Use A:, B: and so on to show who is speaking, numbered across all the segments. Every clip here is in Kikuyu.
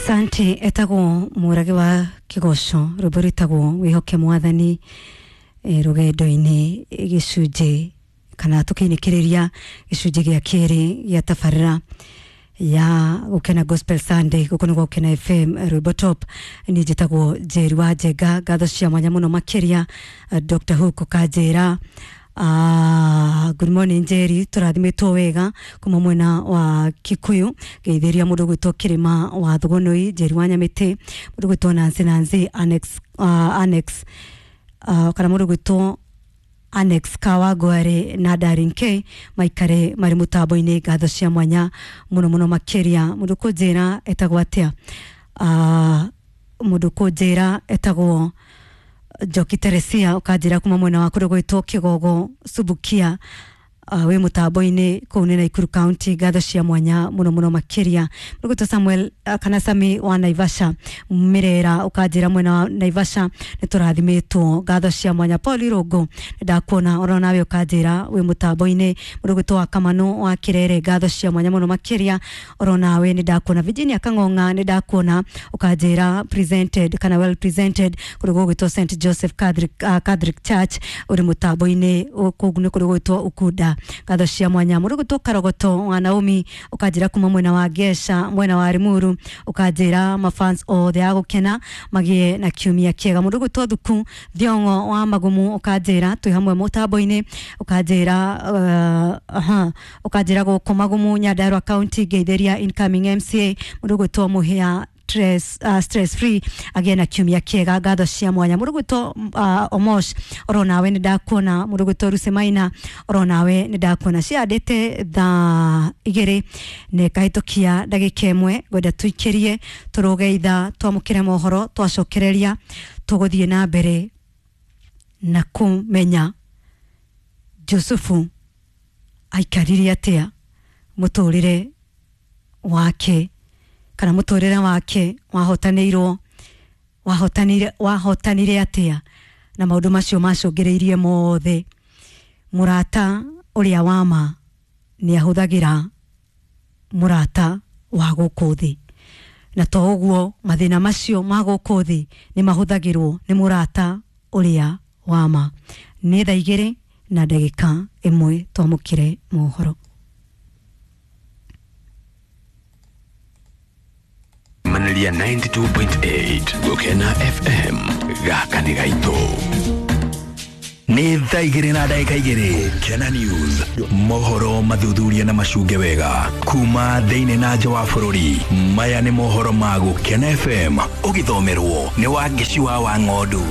A: Asante. Etagwo Mũrage wa Kĩgoco, rwĩmbo rwĩtagwo Wĩhoke Mwathani. Rũgendo-inĩ gĩcunjĩ kana tũkĩinĩkĩrĩria gĩcunjĩ gĩa kerĩ gĩa tabarĩra ya Gũkena Gospel Sunday gũkũ nĩ Gũkena FM, rwĩmbo top. Niĩ njĩtagwo Njeri wa Njenga. Ngatho cia mwanya mũno makĩria, Dr. Hook ũkanjĩra, good morning Njeri, tũrathimĩtwo wega kuma mwena wa Kikuyu. Ngeithĩria mũndũ gwĩtwo Kĩrĩma wa Thugunui, Njeri wa Nyamĩtĩ, mũndũ gwĩtwo Nancy Nancy Annex, Annex, kana mũndũ gwĩtwo Annex Kawangware na Darin K maikare marĩ mũtambo-inĩ. Ngatho cia mwanya mũno mũno makĩria. Mũndũ kũnjĩra etagwo atĩa? Mũndũ kũnjĩra etagwo Njoki Teresia, ũkanjĩra kuma mwena wa kũndũ gwĩtwo Kĩgogo Subukia, wĩ mũtambo-inĩ kũu nĩ Nakuru County. Ngatho cia mwanya mũno mũno makĩria. Mũndũ gwĩtwo Samuel, kana Sami wa Naivasha Mirera, ũkanjĩra mwena wa Naivasha nĩ tũrathimĩtwo. Ngatho cia mwanya. Paul Irũngũ, ndakuona oro nawe, ũkanjĩra wĩ mũtambo-inĩ. Mũndũ gwĩtwo wa Kamano wa Kirere, ngatho cia mwanya mũno makĩria, oro nawe nĩ ndakuona. Virginia Kang'ong'a, nĩ ndakuona, ũkanjĩra presented kana well presented kũndũ gũgwĩtwo St Joseph Catholic, Catholic Church, ũrĩ mũtambo-inĩ kũu nĩ kũndũ gũgwĩtwo Ukunda. Ngatho cia mwanya. Mũndũ gwĩtwo Karogoto wa Naomi, ũkanjĩra kuma mwena wa Gesha, mwena wa Limuru, ũkanjĩra mafans othe a Gũkena magĩe na kiumia kĩega. Mũndũ gwĩtwo Thuku Thiong'o wa Magumu, ũkanjĩra twĩ hamwe mũtambo-inĩ, ũkanjĩra aha, ũkanjĩra gũkũ Magumu, Nyandarua County, ngeithĩria incoming MCA mũndũ gwĩtwo Mũhĩa stress, stress free, agĩe na kiumia kĩega. Ngatho cia mwanya. Mũndũ gwĩtwo Omosh, oro nawe nĩ ndakuona. Mũndũ gwĩtwo Rusemaina, oro nawe nĩ ndakuona. Ciandĩte thaa 2 na ĩkahĩtũkia ndagĩka 1. Ngwenda tũikĩrie tũrũge ithaa twamũkĩre mohoro, twacokereria tũgũthiĩ na mbere na kũmenya Jusufu aikarire atĩa mũtũrĩre wake, kana mũtũrĩre wake wahotanĩirwo wahotanire wahotanire atĩa na maũndũ macio macũngĩrĩirie mothe. Mũrata ũrĩa wa ma nĩ ahũthagĩra mũrata wa gũkũ thĩ, na to ũguo, mathĩna macio ma gũkũ thĩ nĩ mahũthagĩrwo nĩ mũrata ũrĩa wa ma. Nĩ thaa 2 na ndagĩka 1, twamũkĩre mohoro.
B: Manelia 92.8 Gũkena FM, gaka nĩ gaitũ.
C: Nĩ thaa 2 na ndagĩka 2. Kena News, mohoro mathuthuria na macunge wega kuma thĩinĩ na nja wa bũrũri. Maya nĩ mohoro ma Gũkena FM, ũgĩthomerwo nĩ Wangeci wa Ng'ondu.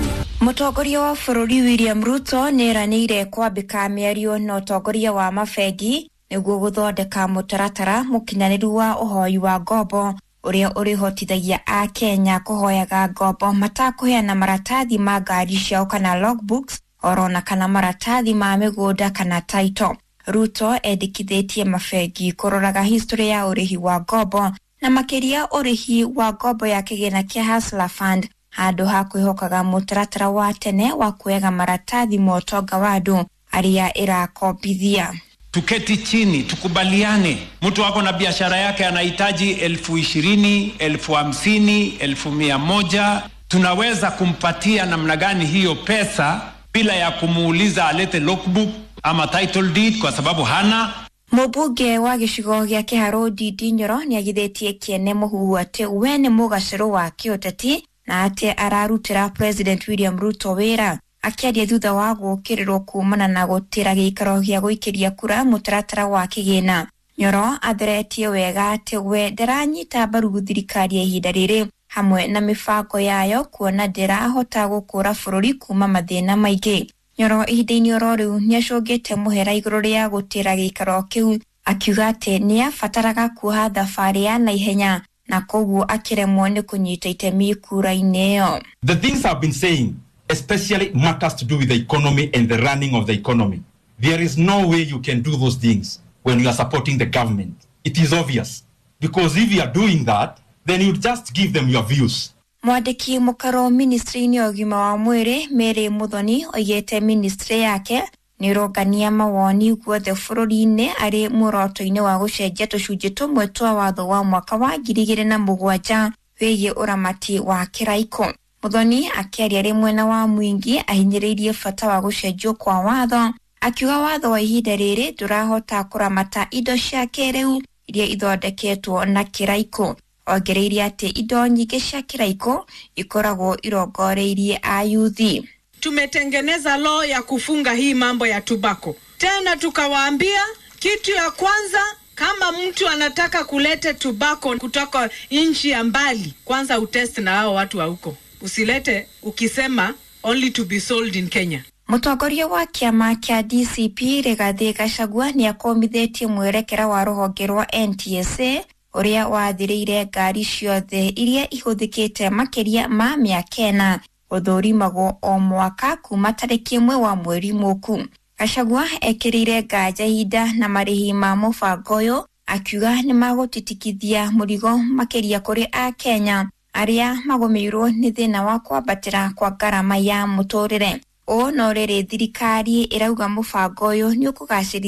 D: Mũtongoria wa bũrũri William Ruto nĩ eranĩire kwambĩka mĩario na ũtongoria wa mabengi nĩguo gũthondeka mũtaratara mũkinyanĩru wa ũhoi wa ngombo ũrĩa ũrĩhotithagia Akenya kũhoyaga ngombo matakũheana maratathi ma ngari ciao kana logbooks orona kana maratathi ma mĩgũnda kana title. Ruto endekithĩtie mabengi kũroraga history ya ũrĩhi wa ngombo na makĩria ũrĩhi wa ngombo ya kĩgĩna kĩa Hustler Fund, handũ ha kwĩhokaga mũtaratara wa tene wa kuoyaga maratathi ma ũtonga wa andũ arĩa ĩrakombithia.
E: Tuketi chini tukubaliane. Mtu ako na biashara yake anahitaji 20,000, 50,000, 100,000, tunaweza kumpatia namna gani hiyo pesa bila ya kumuuliza alete logbook ama title deed kwa sababu hana.
D: Mũmbunge wa gĩcigo gĩa Kĩharũ Ndindi Nyoro nĩagithĩtie kĩene mũhuhu atĩ we nĩ mũgacĩrũ wa kĩũteti na atĩ ararutĩra President William Ruto wĩra. Akĩaria thutha wa gũũkĩrĩrwo kumana na gũtĩra gĩikaro gĩa gũikĩria kura mũtaratara wa kĩgĩna, Nyoro atheretie wega atĩ we ndaranyita mbaru thirikari ya ihinda rĩrĩ hamwe na mĩbango yayo, kuona ndĩrahota gũkũra bũrũri kuma mathĩna maingĩ. Nyoro ihinda-inĩ oro rĩu nĩacũngĩte mũhera igũrũ rĩa gũtĩra gĩikaro kĩu, akiuga atĩ nĩabataraga kuoha thabarĩ ya naihenya na koguo akĩremwo nĩ kũnyita itemi kura-inĩ ĩyo.
F: The things I've been saying, especially matters to do with the economy and the running of the economy. There is no way you can do those things when you are supporting the government. It is obvious. Because if you are doing that, then you just give them your views.
D: Mwandĩki mũkaro ministry-inĩ ya ũgima wa mwĩrĩ Mary Muthoni oigĩte ministry yake nĩ ĩrongania mawoni guothe bũrũri-inĩ arĩ muoroto-inĩ wa gũcenjia tũcunjĩ tũmwe twa watho wa mwaka wa 2007. wĩgiĩ ũramati wa kĩraikũ. Muthoni akĩaria arĩ mwena wa Mwingi ahinyĩrĩirie bata wa gũcenjio kwa watho, akiuga watho wa ihinda rĩrĩ ndũrahota kũramata indo cia kĩrĩu iria ithondeketwo na kĩraikũ. Ongereire atĩ indo nyingĩ cia kĩraikũ ikoragwo irongoreirie ayuthi.
G: Tumetengeneza law ya kufunga hii mambo ya tobacco. Tena tukawaambia kitu ya kwanza, kama mtu anataka kulete tobacco kutoka nchi ya mbali, kwanza utest na hao watu wa huko, usilete ukisema only to be sold in Kenya.
D: Mũtongoria wa kĩama kĩa DCP Rigathĩ Gachagua nĩ akomithitie mwerekera wa rũhonge rwa NTSA ũrĩa wathĩrĩire ngari ciothe iria ihũthĩkĩte makĩria ma mĩaka ĩna gũthũrimagwo o mwaka kuma tarĩki ĩmwe wa mweri mũku. Gachagua ekĩrĩire nganja ihinda na marĩhi ma mũbango ũyũ, akiuga nĩ magũtitikithia mũrigo makĩria kũrĩ Akenya arĩa magũmĩirwo nĩ thĩna wa kwambatĩra kwa ngarama ya mũtũrĩre. Ũũ no rĩrĩ thirikari ĩrauga mũbango ũyũ nĩ ũkũgacĩrithia